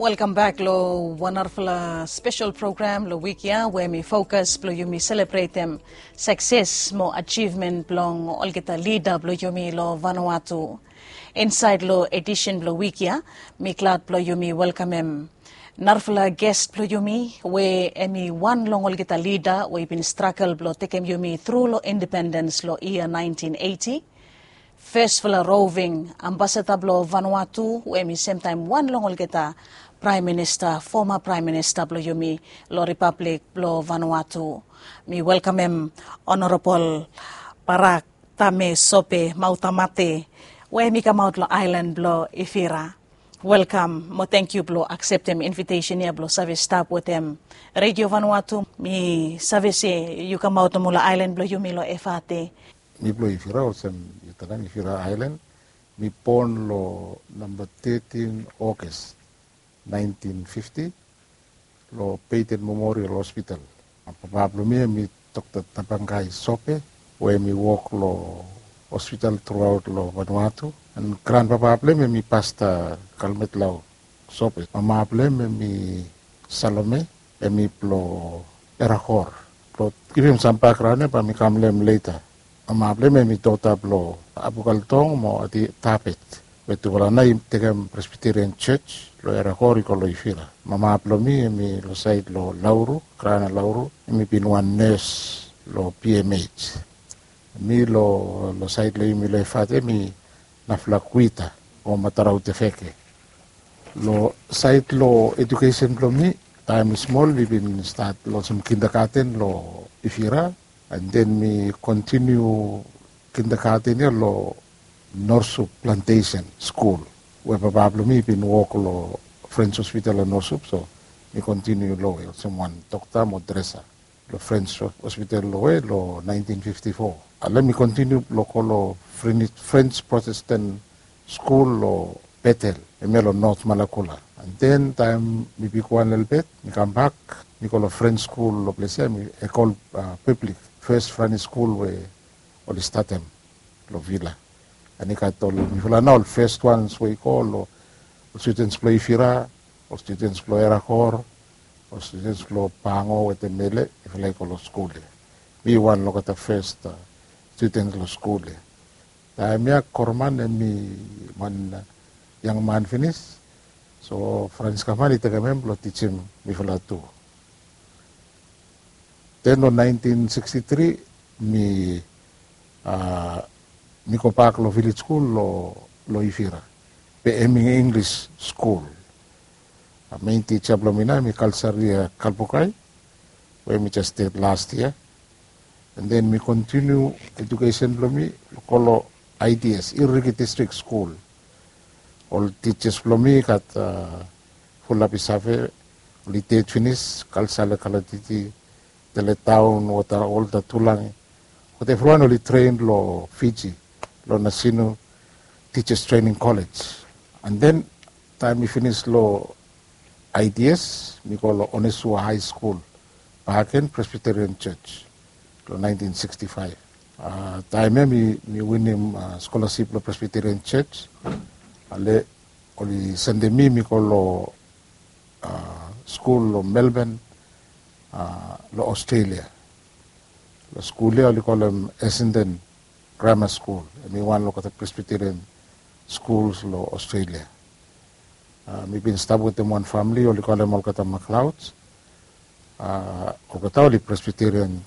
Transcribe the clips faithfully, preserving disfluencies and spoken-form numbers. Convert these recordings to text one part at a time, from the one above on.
Welkam bek long wan narafala spesel program long wik ya we mi fokas blong yumi selebretem sakses mo ajivmen blong olgeta lida blong yumi long Vanuatu. Insaed long edisen blong wik ya, mi glad blong yumi welkamem narafala ges blong yumi we em i wan long olgeta lida we i bin stragel blong tekem yumi tru long independens long yia naentin eiti. Fesfala roving ambasada blong Vanuatu we em i semtaem wan long olgeta praem minista, foma praem minista blong yumi long Ripablik blong Vanuatu. Mi welkamem Honorabol Barak Tame Sope Mautamate we em i kamaot long aelan blong Ifira. Welkam mo tangkiu blong akseptem invitesen ya blong save stap wetem Redio Vanuatu. Mi save se yu kamaot nomo long aelan blong yumi long Efate. Mi blong Ifira, olsem yu talem, Ifira aelan. Mi bon long namba tetin Oges naentin fifti long Peyton Memorial Hospital. Papa blong mi em i Dokta Tabangai Sope we em i wok long hospital truaot long Vanuatu. An granpapa blong em em i Pasta Kalmetlau Sope. Mama blong em em i Salome, em i blong Erakor. Blong givim sam bakgraon ya bae mi kam long hem leta. Mama blong hem em i dota blong Abukaltong mo Ati Tapet, we tufala nao i tekem Presbyterian Church long Erakor i go long Ifira. Mama blong mi em i long saed long Lauru, Grana Lauru, em i bin wan nes long P M H. Mi long, long saed long yumi long Efate em i Naflakuita o Matarau Tefeke. Long saed long edukesen blong mi, taem mi smol mi bin stat long olsem kindagaten long Ifira, an den mi kontiniu kindagaten ya long Norsup Plantesen Skul, we papa blong mi i bin wok long Frens Hospital long Norsup, so mi kontiniu long we olsem wan dokta mo dresa long Frens Hospital long we long naentin fifti fo. Ale mi kontiniu blong go long Frens, Frens Protestan Skul long Betel, hemia long Not Malakula. An den taem mi bigwan lelebet, mi kambak, mi go long Frens Skul long ples ya, mi Ekol, a, Pablik, fes praemari skul we oli statem long Vila. An i gat ol, mifala nao ol fes wans we i go long, ol studens blong Ifira, ol studens blong Erakor, ol studens blong Pango wetem Mele, mifala i go long skul ya. Mi wan long olgeta fes, a, studens long skul ya. Taem ya Korman em i wan, a, yangman finis. So Frans Kaman i tekem hem blong tijim mifala tu. Den long naentin siksti tri mi, a, mi gobak long vilej skul long, long Ifira, be hem i Inglis skul. A, mein tija blong mi nao em i Kalsaria Kalbukai, we mi jes ded las yia. An den mi kontiniu edukesen blong mi go long I D S, Iriki Distrik Skul. Ol tijas blong mi gat, a, Fulabi Save, oli ded finis, Kalsale Kalatiti, Teletaun, Wota, Wolta Tulangi. But evriwan oli tren long Fiji, long Nasinu Teachers Training College. An den taem mi finis long I D S, mi go long Onesua High School, Bahaken Presbyterian Church, long naentin siksti faef. A, taem ya mi, mi winim, a, skolasip long Presbyterian Church. Ale oli sendem mi, mi go long, a, skul long Melbourne, a, long Australia. Long skul ya oli kolem Essendon Grammar School, hem i wan long olgeta Presbyterian schools long Australia. A, mi bin stap wetem wan famili oli kolem olgeta MacLeods. A, olgeta oli Presbyterian,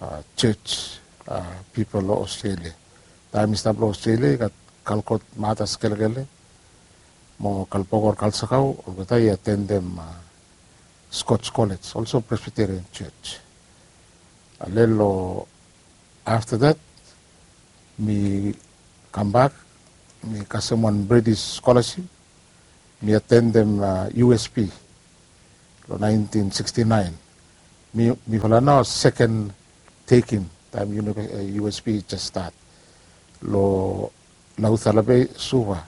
a, church, a, pipol long Australia. Taem mi stap long Australia i gat Kalkot Matas Kelekele mo Kalbokor Kalsakau, olgeta i atendem, a, Scotch College, also Presbyterian Church. Ale long afta dat mi kambak, mi kasem wan British scholarship, mi atendem, a, U S P long naentin siksti naen. Mi, mifala nao seken tekim taem uni-, a, U S P i jes stat long Laucala Bay, Suva.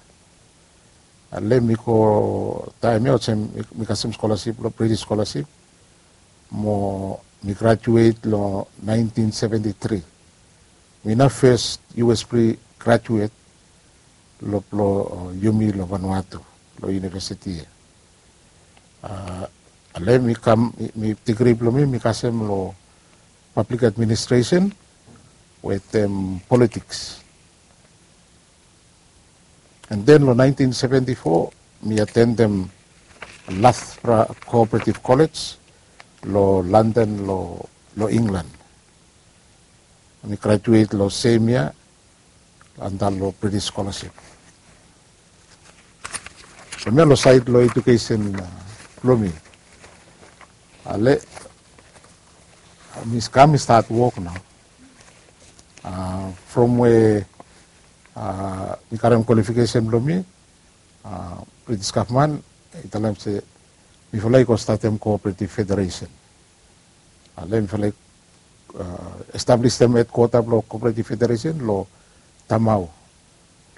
Ale mi go taem ya olsem mi, mi kasem skolasip long British skolasip mo mi grajuet long naentin seventi tri. Mi nao fes U S P grajuet long, blong, a, yumi long Vanuatu long univesiti ya. Ale mi kam, mi digri blong mi mi kasem long pablik administresen wetem politiks. And then long nineteen seventy four mi atendem Loughborough Cooperative College long London, long England. Mi graduate long sem yia anda long British scholarship. Hemia long sait long edukesen blong mi. Ale mi kam mi stat wok nao. From we mi karem kwalifikesen blong mi, British gavman i talem se mifala i go statem Cooperative Federation. Ale mifala i establisim hedkwota blong Cooperative Federation long Tamau,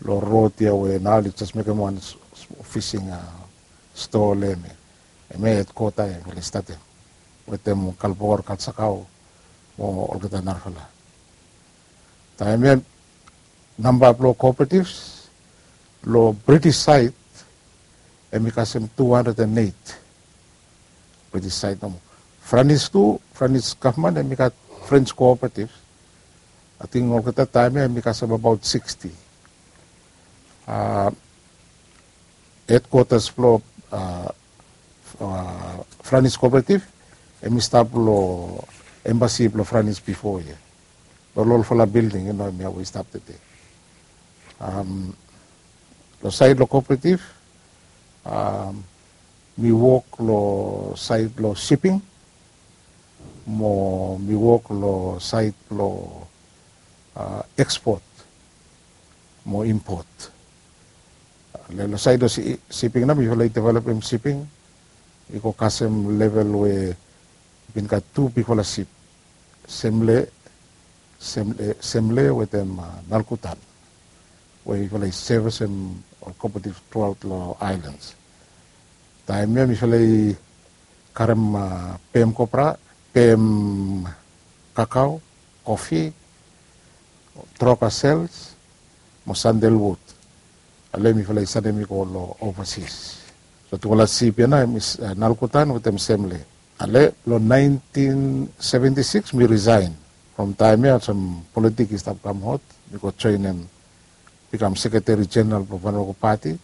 long rod ya we nao oli jes mekem wan fising stoa long hem. Hemia hedkwota ya mifala i statem wetem Kalbor, Kalsakau mo olgeta narafala. Taem ya namba blong cooperative long British saed hem i kasem two hundred and eight. British saed nomo. Franis tu, Franis gavman hem i gat French cooperative. Ating olgeta taem ya hem i kasem abaot sixty. Hedkwatas blong Franis cooperative hem i stap long embasi blong Franis bifo ya. Long olfala bilding ya nao hemia we i stap tede. Long saed long cooperative mi wok long saed long siping mo mi wok long saed blong ekspot mo impot. Long saed long siping nao mifala i developem siping i go kasem level we i bin gat tu bigfala sip, Semle, Semle wetem Nalkutan, we mifala i sevisem ol cooperative truaot long aelans. Taem ya mifala i karem pem kopra, pem kakao, kofi, troka sels mo sandalwud. Ale mifala i sanem i go long ovasis. So tufala sip ya nao hem i Nalkutan wetem Semle. Ale long nineteen seventy six mi risaen. From taem ya olsem politik i stap kam hot, mi go joenem, bikam sekreteri jeneral blong Vanuako Pati.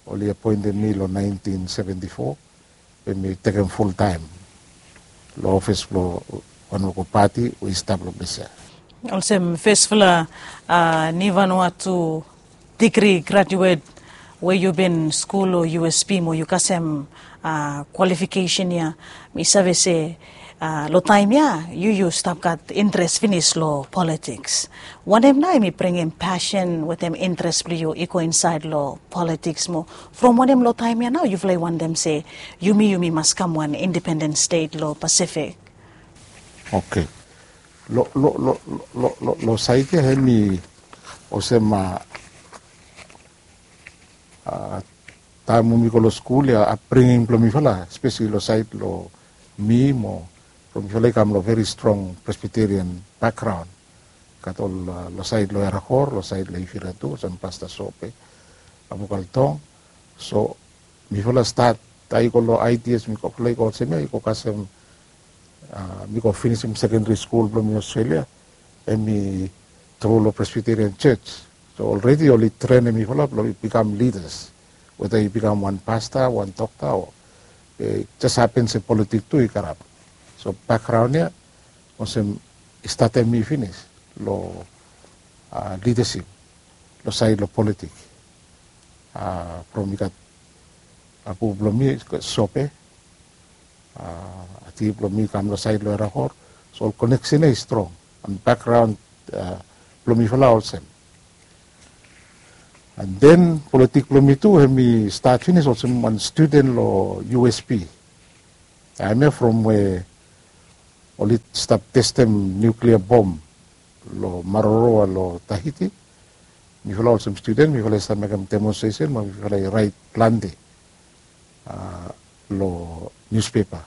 Oli apoentem mi long nineteen seventy four, we mi tekem fultaem long ofis blong Vanuako Pati we i stap long ples ya. Olsem fesfala ni Vanuatu digri graduet we yu bin skul long U S P mo yu kasem kwalifikesen ya, mi save se long taem ya yu yu stap gat interes finis long politiks. Wanem nao hem i bringim pasen wetem interes blong yu i go insaed long politiks mo from wanem long taem ya nao yufala i wantem se yumi yumi mas kam wan indipenden stet long Pasifik? Oke. Long saed ya hem i olsem taem we mi go long skul ya, apbringing blong mifala espeseli long saed long mi mo from mifala i kam long veri strong Presbyterian bakgraon. Gat ol long saed long Eragor, long saed long Ivira tu olsem Pasta Sope, Abukaltong. So mifala stat, taem i go long I T S mifala i go olsem ya i go kasem mi go finisim sekendari skul blong mi Australia, hem i tru long Presbyterian Church. So olredi oli trenem mifala blong i bikam lidas, weda i bikam wan pasta, wan dokta o jes hapen se politik tu i karap. So bakgraon ya olsem i statem mi finis long lidasip long saed long politik. From i gat apu blong mi Sope, ati blong mi kam long saed long Eragor. So ol koneksen ya i strong. An bakgraon blong mifala olsem. An den politik blong mi tu hem i stat finis olsem wan studen long U S P. Taem ya from we oli stap testem niuklia bom long Maroroa long Tahiti, mifala olsem studen mifala i save mekem demonstresen mo mifala i raet plante long niuspepa.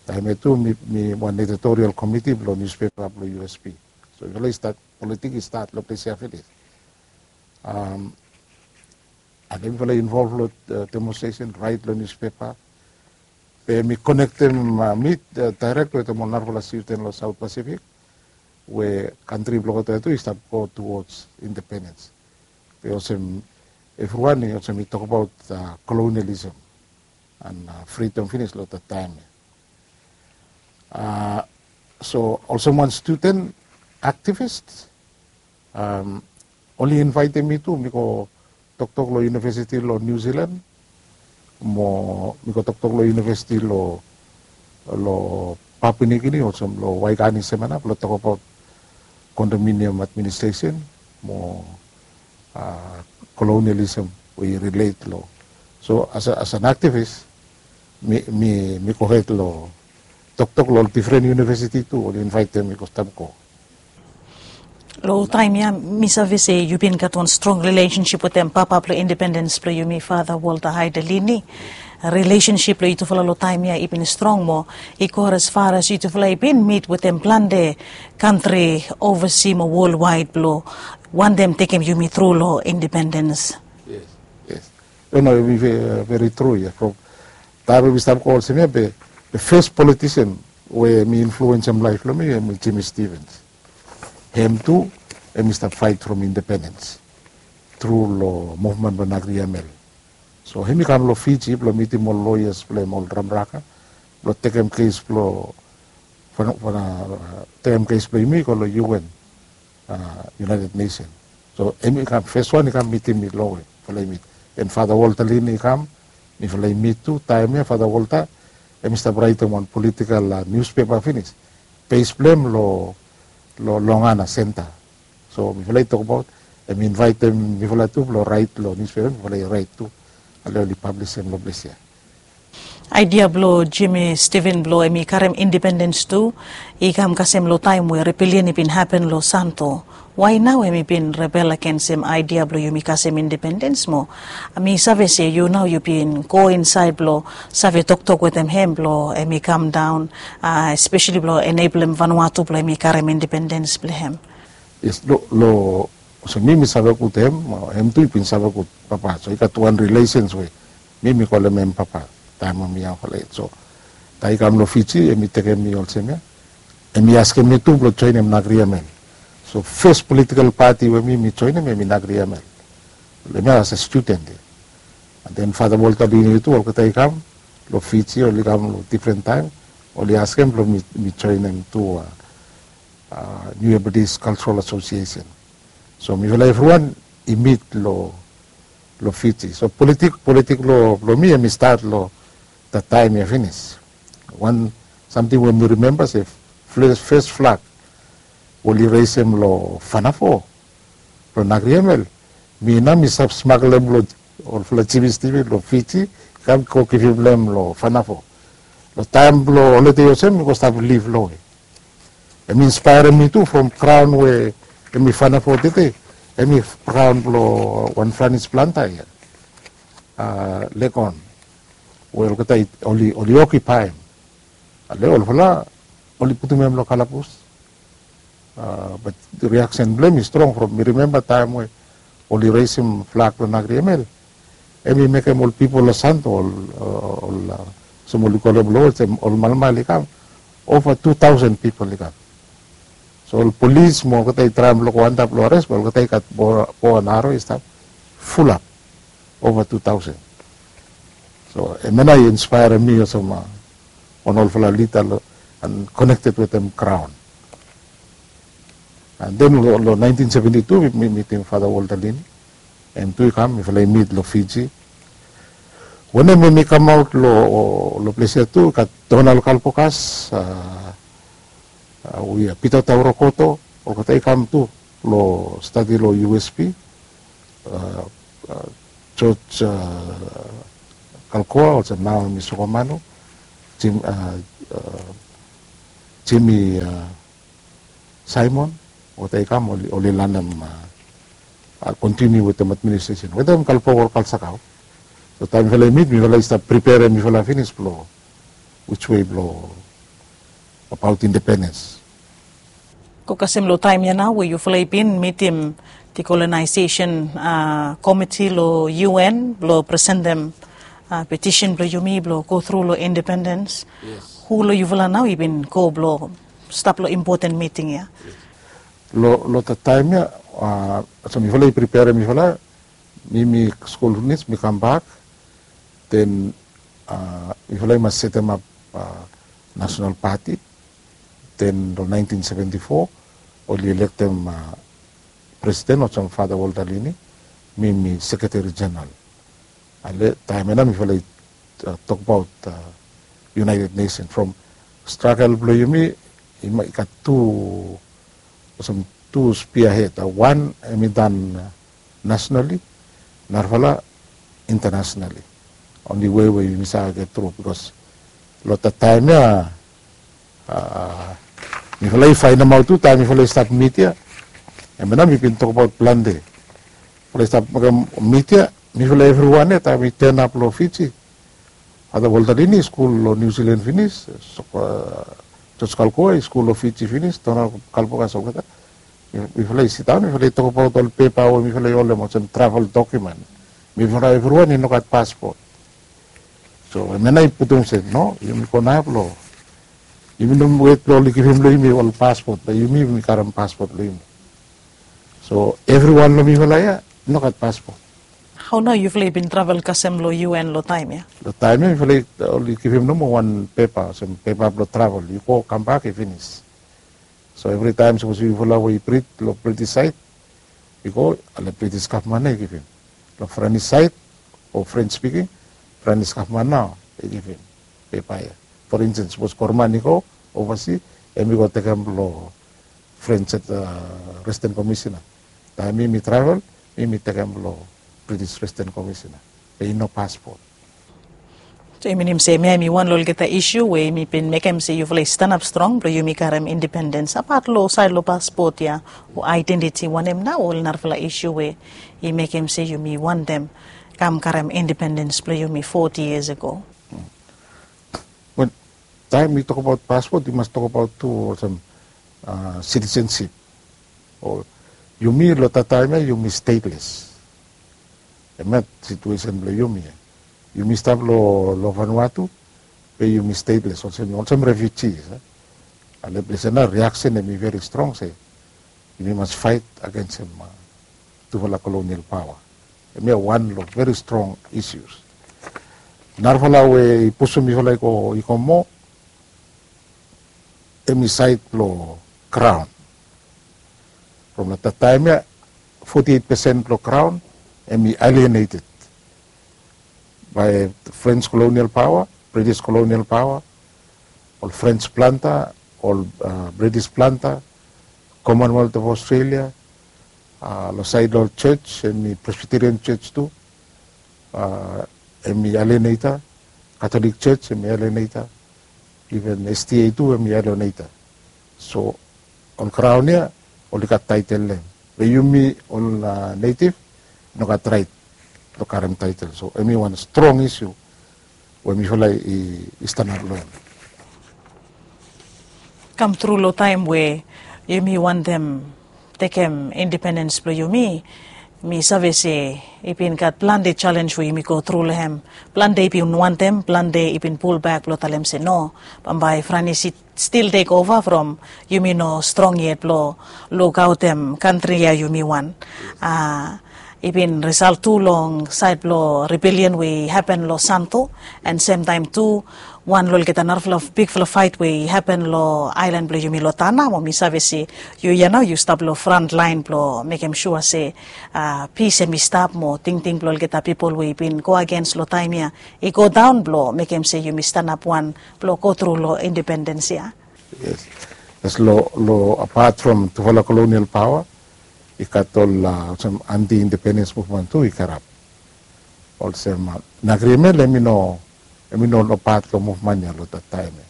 Taem ya tu mi wan editorial komiti blong niuspepa blong U S P. So mifala i stat, politik i stat long ples ya finis. Afta mifala i involv long demonstresen, raet long niuspepa. Be mi konektem, uh, mi, uh, direct wetem ol narafala student long South Pacific, we kantri blong olgeta tu i stap go towards independence. Be olsem, everyone i olsem i tokbaot, uh, colonialism and, uh, freedom finis long that time. Uh, so olsem wan student activist, um, oli invaitem mi tu mi go toktok long university long New Zealand, mo mi go toktok long university long, long Papua New Guinea, olsem long Waikani Seminar, blong tokbaot condominium administration mo, uh, colonialism we i relate long. So as, a, as an activist, mi, mi, mi go hed long toktok long ol different university tu, oli invaitem mi go stap go. Long taem ya mi save se yu bin gat wan strong relationship wetem papa blong independens blong yumi, Father Walter Hyde Lini. Relationship blong yutufala long taem ya i bin strong mo i go as far as yutufala i bin mit wetem plante kantri ovasi mo worldwide blong wantem tekem yumi tru long independens. Yes, yes. No, no, i ve-, very true ya. From taem we mi stap go olsem ya, be the first politician we mi influensem laef blong mi, em Jimmy Stevens. Hem tu, hem i stap faet from independens tru long movement blong Nagriamel. So hem i kam long Fiji blong mitim ol lawyers blong hem, ol Ramraka, blong tekem kes blong, fana, fana, tekem kes blong yumi go long U N, uh, United Nation. So hem i kam, fes wan i kam mitim mi long we mifala i mit. Then Father Walter Lini i kam, mifala i mit tu. Taem ya Father Walter hem i stap raetem wan political, uh, newspaper finis. Base blong hem long, long Longana Center. So mifala i tokbaot, hem i invaitem mifala tu blong raet long newspaper, mifala i raet tu. Ale oli publisem long ples ya. Aedia blong Jimmy Stevens blong hem i karem independens tu i kam kasem long taem we rebellion i bin hapen long Santo. Why nao hem i bin rebel agensem aedia blong yumi kasem independens mo? Mi save se yu nao yu bin go insaed blong save toktok wetem hem blong hem i kam daon, uh, especially blong eneblem Vanuatu blong hem i karem independens blong hem. Yes, lo, lo, so mi, mi save gud hem, uh, hem tu i bin save gud papa. So i gat wan relations we mi, mi kolem hem papa taem we mi yangfala yet. So taem i kam long Fiji, hem i tekem mi olsem ya, hem i askem mi tu blong joenem Nagriamel. So fes political party we mi, mi joenem hem i Nagriamel. Hem ya as a student ya. And then Father Walter Lini tu, olgeta i kam long Fiji, oli kam long different taem, oli askem blong mi, mi joenem tu, uh, uh, New Hebrides Cultural Association. So mifala evriwan i mit long, long Fiji. So politik, politik long, long mi hem i stat long that taem ya finis. Wan samting we mi rimemba se fes, fes flag oli resem long Fanafo, long Nagriamel, mi nao mi stap smaglem long olfala Jimmy Stevens long Fiji, kam go givim long hem long Fanafo. Long taem blong holide olsem mi go stap liv long we. Hem i inspaerem mi tu from graon we hem i Fanafo tede, hem i graon blong wan Franis planta ya, uh, Legon, we olgeta i, oli, oli okipaem. Ale olfala oli putum hem long kalabus. Uh, but reaksen blong hem i strong from, mi rimemba taem we oli resem flag blong Nagriamel, hem i mekem ol pipol long Santo, ol, uh, ol, uh, olsem oli kolem long olsem ol malmal i kam, ova tu taosen pipol i kam. So ol polis mo olgeta i traem long go antap long ares, be olgeta i gat bo, bo and aro i stap, fulap, ova tu taosen. So hemia nao i inspaerem mi olsem, uh, wan olfala lida long, and konekted wetem graon. And then long, long naentin seventi tu mi, mi mitim Father Walter Lini. Hem tu i kam, mifala i mit long Fiji. Wanem, hem i kamaot long, long ples ya tu, gat Donald Kalpokas, uh, uh, we Peter Taurakoto, olgeta i kam tu long stadi long U S P. Uh, uh, George, uh, Kalkoa, olsem nao hem i Sokomanu, Jim, uh, uh, Jimmy, uh, Simon, olgeta i kam, oli, oli lanem, uh, uh, kontiniu wetem administresen wetem Kalpoa Kalsakau. So taem mifala i mit, mifala i stap priperem mifala finis blong which way blong abaot independens. Go kasem long taem ya nao we yufala i bin mitim decolonization, uh, komiti long U N blong presentem, Petisen blong yumi blong go tru long independens. Hu long yufala nao i bin go blong stap long impoten miting ya? Long long taem ya, olsem mifala i priperem mifala, mi mi skul finis mi kambak, den mifala i mas setemap nasonal pati. Den long naentin seventi fo oli elektem presiden olsem Fata Walter Lini, mi mi sekreteri jeneral. Ale taem ya nao mifala i tokbaot United Nation from stragel blong yumi, i gat tu olsem tu spia hed. Wan hemi dan nasonali, narafala intanasionali. Onli wei we yumi save get tru bikos long taem ya mifala i faenemaot tu taem mifala i stap mit ya. Hemia nao mi bin tokbaot plante. Mifala i stap mekem mit ya, mifala evriwan ya taem mi tenap long Fiji. Fata Walter Lini i skul long Niu Silan finis, Jos Kalkoa i skul long Fiji finis, Donald Kalpokas olgeta. Mifala i sidaon mifala i tokbaot ol pepa we mifala i holem olsem travel dokumen. Mifala evriwan i no gat paspot. So hemia nao i putum se no, yumi go nao blong yumi no wet blong oli givim long yumi ol paspot, be yumi yumi karem paspot blong yumi. So evriwan long mifala ya i no gat paspot. Hao nao yufala i bin travel kasem long UN long taem ya? Long taem ya mifala i oli givim nomo wan pepa olsem pepa blong travel, yu go kambak i finis. So evritaem sapos yufala we i brit long British saed i go, ale British gavman nao i givim. Long Frenis saed o French spiking, Frenis gavman nao i givim pepa ya. For instance sapos Korman i go ovasi, hemi go tekem long French Resident Commissioner. Taem mi mi travel, mi mi tekem long British Resident Commissioner, be i no paspot. So i minim se hemia hemi wan long olgeta isu we yumi bin mekem se yufala i stanap strong blong yumi karem independens apat long saed long paspot ya o aedentiti, wanem nao ol narafala isu we i mekem se yumi wantem kam karem independens blong yumi foti yias ago? Wel, taem mi tokbaot paspot yu mas tokbaot tu olsem sitisensip. Yumi long taem ya yumi steteles. Hemia situesen blong yumi ya. Yumi stap long Vanuatu, be yumi steteles olsem olsem refiuji. Ale ples ya nao riaksen hemi veri strong se yumi mas faet agensem tufala kolonial paoa. Hemia wan long veri strong isius. Narafala we i pusum mifala i go i go moa, hemi saed blong graon. From long taem ya foti eit pesen blong graon hemi alieneted bae French kolonial paoa, British kolonial paoa, ol French planta, ol British planta, Commonwealth of Australia. Long saed long ol jos hemi Presbyterian jos tu, hemi alieneta. Katolik jos hemi alieneta. Iven SDA tu hemi alieneta. So ol graon ya oli gat taetel long hem, be yumi ol netiv i no gat raet blong karem taetel. So hemi wan strong isu we mifala i stanap long hem. Kam tru long taem we yumi wantem tekem independens blong yumi, mi save se i bin gat plante jalenj we yumi go tru long hem. Plante i bin wantem, plante i bin pulbak blong talem se no, bambae Franis i stil tekova from yumi no strong yet blong lukaotem kantri ya yumi wan. I bin risalt tu long saed blong ribelian we i hapen long Santo, an semtaem tu wan long olgeta narafala bigfala faet we i hapen long aelan blong yumi long Tana, mo mi save se yu ya nao yu stap long frantlaen blong mekem sua se pis hemi stap mo tingting blong olgeta pipol we i bin go agens long taem ya i go daon blong mekem se yumi stanap wan blong go tru long independens ya. Yes. Yes, long apat from tufala kolonial paoa i gat ol olsem anti independens muvman tu i karap. Olsem Nagriemel hemi no, hemi no ol pat long muvman ya long dat taem ya.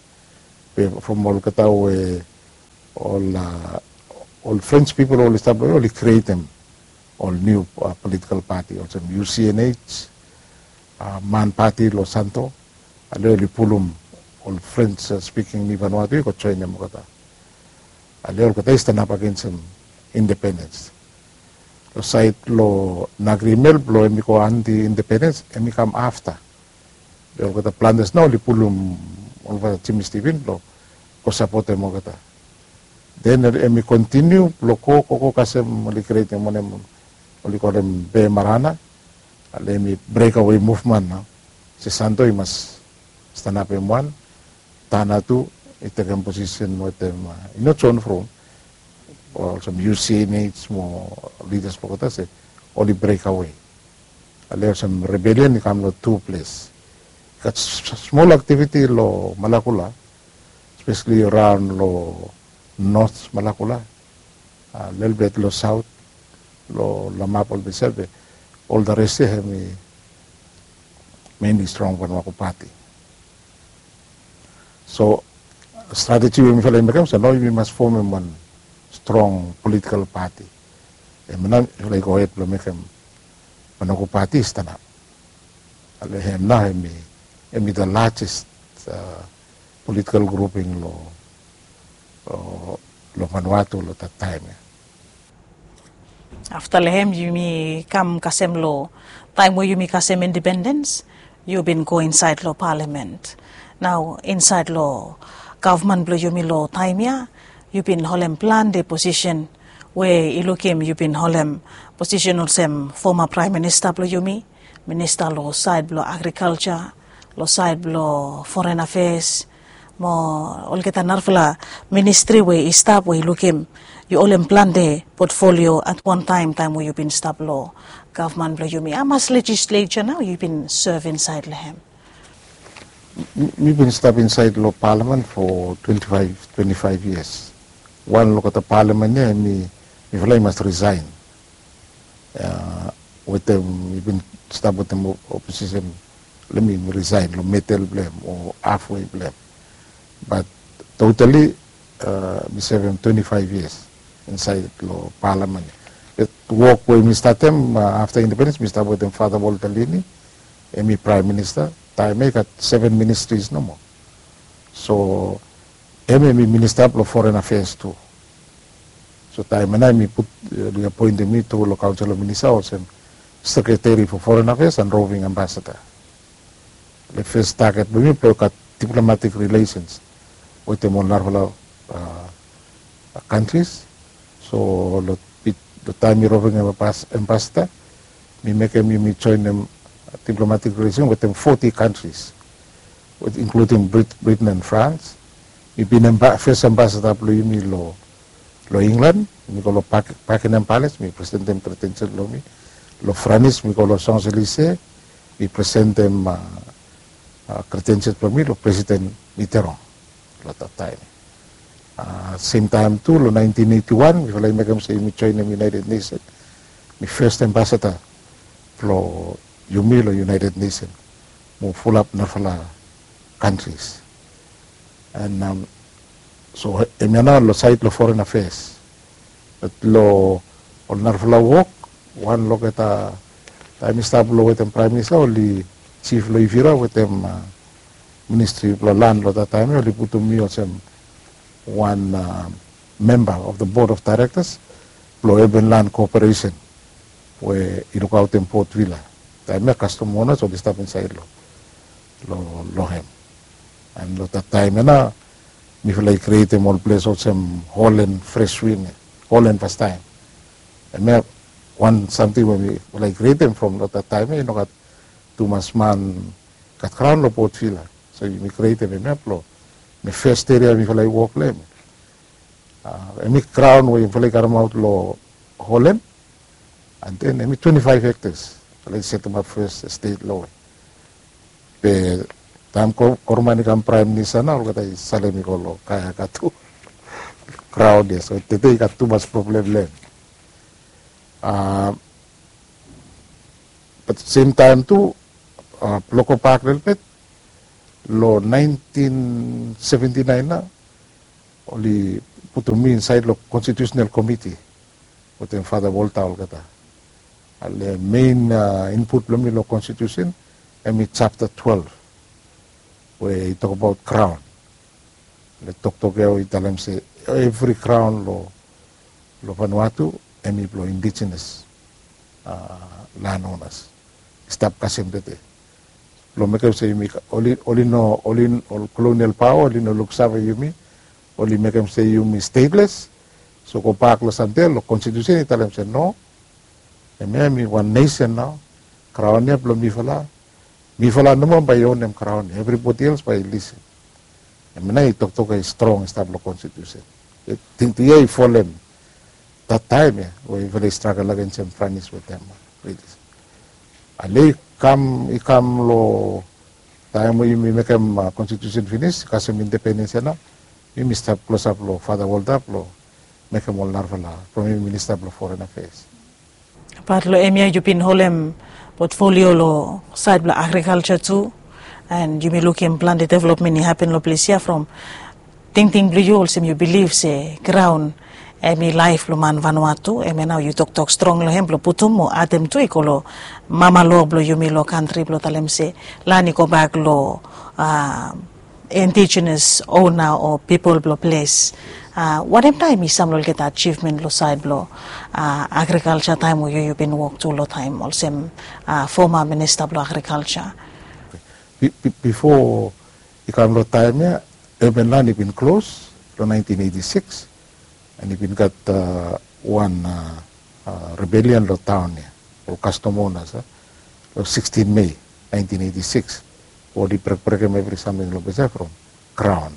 Be from olgeta we ol ol French pipol oli stap long ya oli krietem ol niu politikal pati olsem UCNH, Man Pati long Santo. Ale oli pulum ol French spiking Niu Vanuatu i go joenem olgeta. Ale olgeta i stanap agensem independens. Long saed long Nagriemel blong hemi go anti independens hemi kam afta. Be olgeta plantas nao oli pulum olgeta Jimmy Stephen blong go sapotem olgeta. Den hemi kontiniu blong go go go kasem oli createm wanem, oli kolem Be Marana. Ale hemi breakaway movement nao. Se Santo i mas stanapim wan, Tana tu i tekem posisen wetem, i no John From, olsem U C N H mo lidas blong olgeta se oli breakaway. Ale olsem rebellion i kam long tu ples. I gat smol aktiviti long Malakula, espeseli raon long North Malakula, lelebet long Saot, long Lamap, ol Bisep, be ol the rest ya hemi mainly strong Vanuatu pati. So strateji we mifala i mekem se nao yumi mas fomem wan strong politikal pati. Hemia nao mifala i gohed blong mekem Vanuatu pati i stanap. Ale hem nao hemi, hemi the largest politikal grouping long, long Vanuatu long that taem ya. Afta long hem yumi kam kasem long taem we yumi kasem independens, yu bin go insaed long palamen. Nao insaed long gavman blong yumi long taem ya, yu bin holem plante posisen we i lukim yu bin holem posisen olsem foma praem minista blong yumi, minista long saed blong agrikalja, long saed blong foren afeas, mo olgeta narafala ministri we i stap we i lukim yu holem plante potfolio at wan taem, taem we yu bin stap long gavman blong yumi. Hamas lejisleja nao yu bin sev insaed long hem? Mi bin stap insaed long palamen fo twenti faef, twenti faef yias. Wan long olgeta palamen ya, mifala i mas risaen. Wetem, mi bin stap wetem oposisen, le mi risaen long medel blong hem o hafwe blong hem. Bat totali mi sevem twenti faef yias insaed long palamen. Be wok we mi statem afta independens, mi stap wetem Fata Walter Lini, hemi praem minista. Taem ya i gat seven ministries nomo. So hem hemi minista blong foren afeas tu. So taem ya nao hemi put, oli apoentem mi tu long kaonsel of minista olsem sekreteri fo foren afeas and roving ambasada. Le fes taget blong mi blong gat diplomatik rilesens wetem ol narafala kantris. So long taem mi roving ambasada, mi mekem yumi joenem diplomatik rilesen wetem foti kantris, inkludim Britain and France. Mi bin fes ambasada blong yumi long England, mi go long Buckingham Palace, mi presentem kredensial blong mi. Long France mi go long Champs-Élysées, mi presentem kredensial blong mi long Presiden Mitterrand long that taem. Sem taem tu long naentin eiti wan mifala i mekem se yumi joenem United Nation. Mi fes ambasada blong yumi long United Nation mo fulap narafala kantris. And so hemia nao long saed long foren afeas. Bat long ol narafala wok, wan long olgeta, taem mi stap long wetem praem minista, oli jif long Ivira wetem ministri blong lan long that taem ya, oli putum mi olsem wan memba of the board of directors blong urban land cooperation we i lukaotem Port Vila. Taem ya kastom onas oli stap insaed long, long hem. And long that taem ya nao mifala i krietem ol ples olsem Holland Fresh Wind, Holland fastaem. Hemia wan samting we mifala i krietem from long that taem ya i no gat tumas man gat graon long Port Vila. So yumi krietem hemia blong, hemi fes eria mifala i wok long hem. Hemi graon we yufala i karemaot long Holland, and then hemi twenti faef hektas. Yufala i setemap fes estet long hem. Be taem Koroman i kam praem minista nao olgeta i salem i go long Kayaka tu. Graon ya, so tede i gat tumas problem long hem. Bat sem taem tu, blong gobak lelebet, long naentin seventi naen nao oli putum mi insaed long konstitiusenal komiti wetem Fata Volta olgeta. Ale mein input blong mi long konstitiusen hemi japta twelef we i tokbaot graon. Le toktok ya we i talem se evri graon long Vanuatu hemi blong indigenes landonas i stap kasem tede. Long mekem se yumi oli oli no oli ol kolonial paoa oli no luksave yumi, oli mekem se yumi stateless. So gobak long samting ya long konstitusen i talem se no, hemia mi wan nesen nao. Kraon ya blong mifala. Mifala nomo bae i onem kraon ya, evribodi els bae i lisin. Hemia nao i toktok ya i strong i stap long konstitusen. Tingting ya i folem dat taem ya we yufala i stragel agen sem franis wetem. Ale i kam i kam long taem we yumi mekem konstitusen finis kasem independens ya nao, yumi stap klosap long Fada Walter blong mekem ol narafala from yumi minista blong foren afeas. Bat long hemia yu bin holem potfolio long saed blong agrikalja tu, and yumi lukim plante developmen i hapen long ples ya from tingting blong yu olsem yu bilif se graon hemi laef blong man Vanuatu. Hemia nao yu toktok strong long hem blong putum o adem tu i go long mama loa blong yumi long kantri blong talem se lan i gobak long indigenous ona o pipol blong ples. Wanem taem i sam long olgeta ajivmen long saed blong agrikalja taem we yu yu bin wok tu long taem olsem foma minista blong agrikalja? Bifo i kam long taem ya, urban lan i bin klos long naentin eiti sikis, and i bin gat wan rebelian long taon ya, ol kastom onas ya, long sikstin Mei naentin eiti sikis. Oli brekbrekem evri samting long ples ya from graon.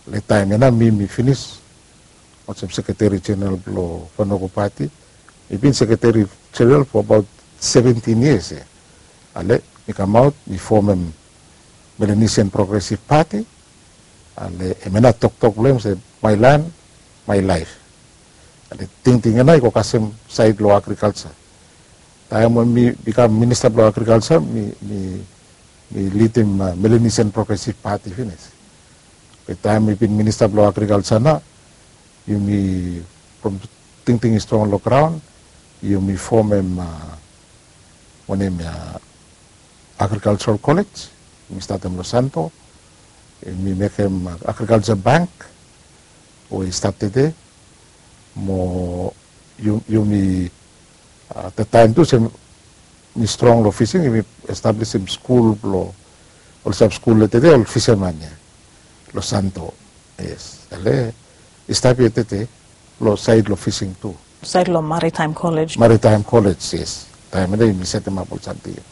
Long taem ya nao mi mi finis olsem sekreteri jeneral blong Vanuatu Pati. Mi bin sekreteri jeneral fo abaot seventin yias ya. Ale mi kamaot mi fomem Melanesian Progressive Party. Ale hemia nao toktok blong hem se my land, my life. Ale tingting ya nao i go kasem saed long agrikalja. Taem we mi bikam minista blong agrikalja mi mi mi lidim Melanesian Progressive Party finis. Be taem mi bin minista blong agrikalja nao, yumi from tingting i strong long graon, yumi fomem wanem ya, agrikaljaral kolej. Yumi statem long Santo. Yumi mekem agrikalja bank we i stap tede. Mo yumi, dat taem tu se mi strong long fising, yumi establisim skul blong ol sab skul long tede ol fisaman ya long Santo. Yes, ale i stap ya tede long saed long fising tu. Saed long Maritime College. Maritime College, yes. Taem ya nao yumi setemap ol samting ya.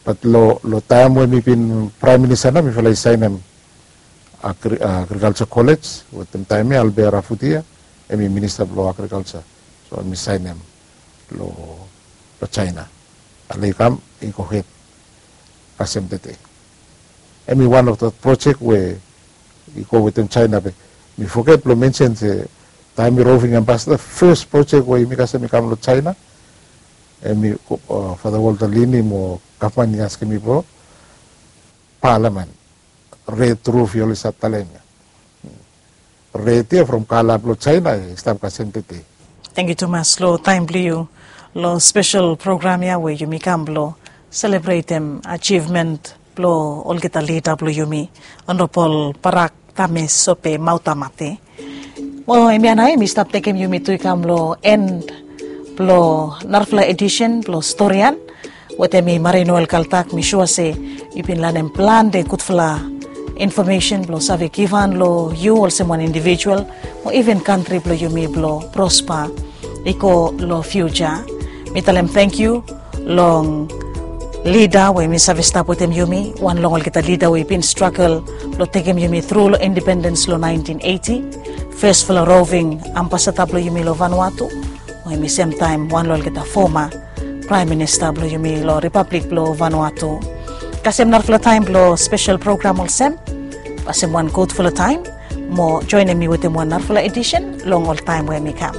Bat long taem we mi bin praem minista nao mifala i saenem agrikalja kolej wetem taem ya Albert Rafutia, hemi minista blong agrikalja. So hemi saenem long Jaena. Ale i kam i go hed kasem tede. Hemi wan of dat projek we i go wetem Jaena. Be mi foget blong mensen se taem mi roving ambasada, fes projek we yumi kasem i kam long Jaena, hemi Fada Walter Lini mo gavman i askem mi blong palamen. Red ruf yu oli save talem ya. Red ya from kala blong Jaena i stap kasem tede. Tangkiu tumas long taem blong yu long spesel program ya we yumi kam blong selebretem ajivmen blong olgeta lida blong yumi, Honorable Barak Tamesope Mautamate. Mo hemia nao hemi stap tekem yumi tu i kam long en blong narafala edisen blong Storian wetem mi Marie Noel Kaltak. Mi sua se yu bin lanem plante gudfala infomesen blong save givhan long yu olsem wan indivijual mo iven kantri blong yumi blong prospa i go long fiuja. Mi talem tangkiu long lida we mi save stap wetem yumi, wan long olgeta lida we i bin stragel blong tekem yumi tru long independens long naentin eiti, fesfala roving ambasada blong yumi long Vanuatu, we hemi semtaem wan long olgeta foma praem minista blong yumi long Ripablik blong Vanuatu. Kasem narafala taem blong spesel program olsem, kasem wan gudfala taem mo joenem mi wetem wan narafala edisen long ol taem we hemi kam.